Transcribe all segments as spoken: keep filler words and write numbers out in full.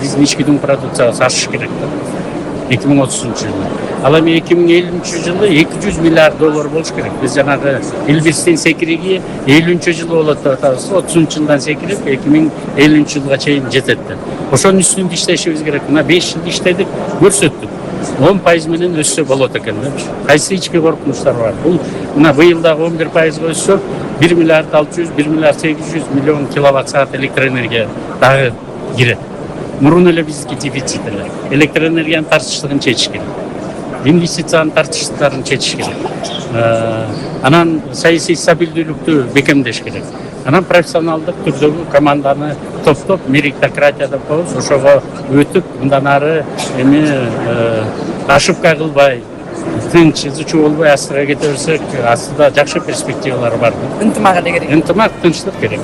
биздин ички дүң продукциябыз ашыш керек да эки миң отузунчу жылы. Ал эми эки миң элүүнчү жылы эки жүз миллиард доллар болуш керек. Биз жанагы Элбестен секириги элүүнчү жылы болот деп атабыз. отузунчу жылдан секирип эки миң элүүнчү жылга чейин жетет деп. Ошонун үстүндө иштешибиз керек. Мына беш жыл иштедик, көрсөттүк. он пайыз менен өссө болот экен да. Кайсы ички коркунучтар бар? Бул мына быйыл дагы он бир пайызга өссө бир миллиард алты жүз, бир миллиард сегиз жүз миллион киловатт саат электроэнергия дагы кирет. Мурун эле биздики дефицит эле. Электроэнергиянын тартыштыгын чечиш керек. Инвестициянын тартыштыктарын чечиш керек. Анан саясий стабилдүүлүктү бекемдеш керек. Анан профессионалдык түрдөгү команданы топтоп, меритократия деп коебуз, ошого өтүп, мындан ары эми ошибка кылбай, тынч, изучу болбой астыга кете берсек, астыда жакшы перспективалар бар. Ынтымак эле керек. Ынтымак, тынчтык керек.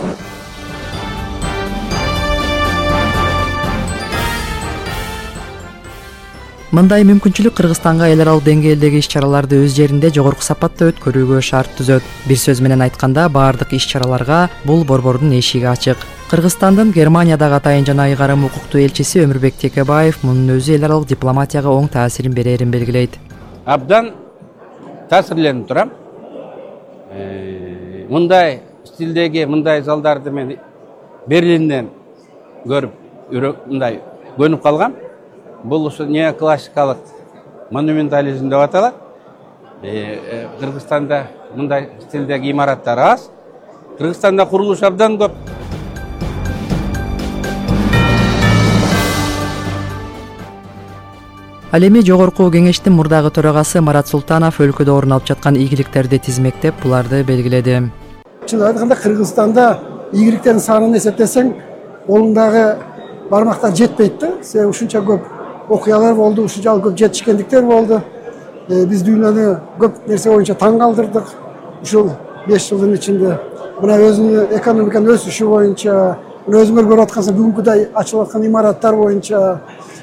Мындай мүмкүнчүлүк Кыргызстанга эл аралык деңгээлдеги иш-чараларды өз жеринде жогорку сапатта өткөрүүгө шарт түзөт. Бир сөз менен айтканда, баардык иш-чараларга бул борбордун эшиги ачык. Кыргызстандын Германиядагы атайын жана ыйгарым укуктуу элчиси Өмүрбек Текебаев мунун өзү эл аралык дипломатияга оң таасирин берерин белгилейт. Абдан таасирленип турам. Мындай стилдеги, мындай залдарды мен Берлинден көрүп, мындай көнүп калгам. Бул ушу неоклассикалык монументализм деп аталат. Кыргызстанда мындай стилдеги имараттар аз. Кыргызстанда курулуш абдан көп. Ал эми жогорку кеңештин мурдагы төрагасы Марат Султанов өлкөдө орун алып жаткан ийгиликтерди тизмектеп, буларды белгиледи. Чын айтканда Кыргызстанда ийгиликтердин санын эсептесең, колуңдагы бармактар жетпейт да. Себеби ушунча көп окуялар болду, ушунча көп жетишкендиктер болду. Биз дүйнөнү көп нерсе боюнча таң калтырдык. Ушул беш жылдын ичинде мына өзүнүн экономиканын өсүшү боюнча, мына өзүңөр көрүп аткансыз бүгүнкүдөй ачылып аткан имараттар боюнча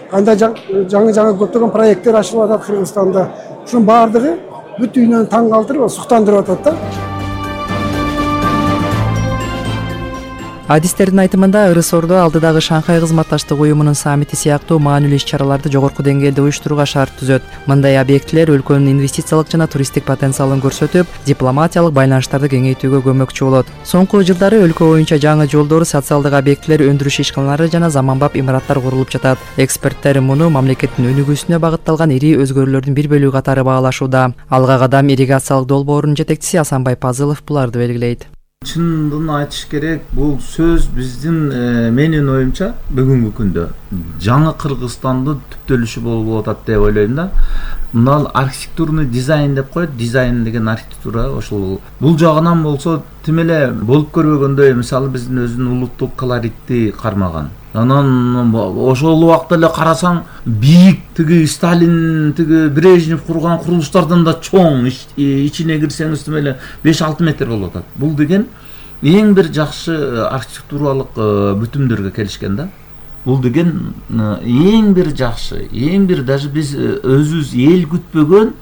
кандай жаңы-жаңы көптөгөн проекттер ачылып атат Кыргызстанда. Ушунун баардыгы бүт дүйнөнү таң калтырып, суктандырып атат да. Адистердин айтымында ырыс-ордо алдыдагы Шанхай кызматташтык уюмунун саммити сыяктуу маанилүү иш-чараларды жогорку деңгээлде уюштурууга шарт түзөт. Мындай объектилер өлкөнүн инвестициялык жана туристтик потенциалын көрсөтүп, дипломатиялык байланыштарды кеңейтүүгө көмөкчү болот. Соңку жылдары өлкө боюнча жаңы жолдор, социалдык объектилер, өндүрүш ишканалары жана заманбап имараттар курулуп жатат. Эксперттер муну мамлекеттин өнүгүүсүнө багытталган ири өзгөрүүлөрдүн бир бөлүгү катары баалашууда. Алга кадам ирригациялык долбоорунун жетекчиси Асанбай Пазылов буларды белгилейт. Чындыгын айтыш керек, бул сөз биздин менин оюмча бүгүнкү күндө жаңы Кыргызстандын түптөлүшү болуп атат деп ойлойм да. Мына архитектурный дизайн деп коет, дизайн деген архитектура ошол. Бул жагынан болсо тим эле болуп көрбөгөндөй, мисалы биздин өзүнүн улуттук колоритти кармаган. Анан ошол убакта эле карасаң, бийик тиги Сталин, тиги Брежнев курган курулуштардан да чоң, ичине кирсеңиз тим эле беш алты метр болуп атат. Бул деген эң бир жакшы архитектуралык бүтүмдөргө келишкен да. Бул деген эң бир жакшы, эң бир даже биз өзүбүз эл күтпөгөн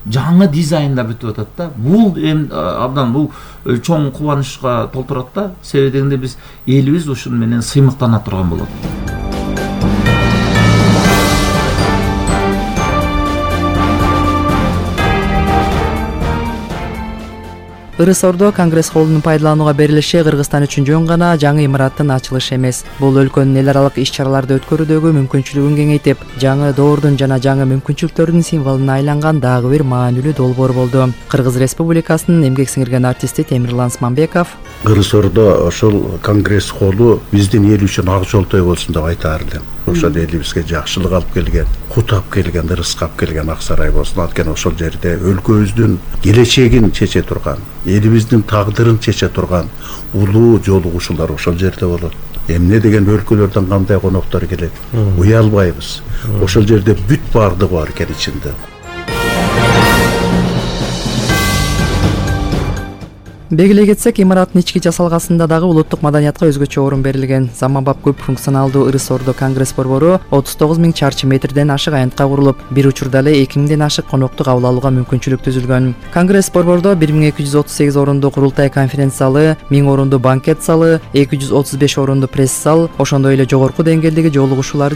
жаңы дизайнда бүтүп атат да. Бул эми абдан бул чоң кубанычка толтурат да. Себеби дегенде биз элибиз ушун менен сыймыктана турган болот. Ырыс-ордо Конгресс холлунун пайдаланууга берилиши Кыргызстан үчүн жөн гана жаңы имараттын ачылышы эмес. Бул өлкөнүн эл аралык иш-чараларды өткөрүүдөгү мүмкүнчүлүгүн кеңейтип, жаңы доордун жана жаңы мүмкүнчүлүктөрдүн символуна айланган дагы бир маанилүү долбоор болду. Кыргыз Республикасынын эмгек сиңирген артисти Темирлан Смамбеков Ырыс-ордо ошол Конгресс холлу биздин эл үчүн ак жолтой болсун деп айтаар элем. Ошол элибизге жакшылык алып келген, кут алып келген, ырыска алып келген ак сарай болсун. Анткени ошол жерде өлкөбүздүн келечегин чече турган, элибиздин тагдырын чече турган улуу жолугушуулар ошол жерде болот. Эмне деген өлкөлөрдөн кандай коноктор келет, уялбайбыз. Ошол жерде бүт баардыгы бар экен ичинде. Белгилей кетсек, имараттын ички жасалгасында дагы улуттук маданиятка өзгөчө орун берилген. Заманбап көп функционалдуу Ырыс-ордо Конгресс борбору отуз тогуз миң чарчы метрден ашык аянтка курулуп, бир учурда эле эки миңден ашык коноктук абыл алууга мүмкүнчүлүк түзүлгөн. Конгресс борбордо бир миң эки жүз отуз сегиз орунду курултай конференц залы, миң орунду банкет залы, эки жүз отуз беш орунду пресс зал, ошондой эле жогорку деңгээлдеги жолугушуулар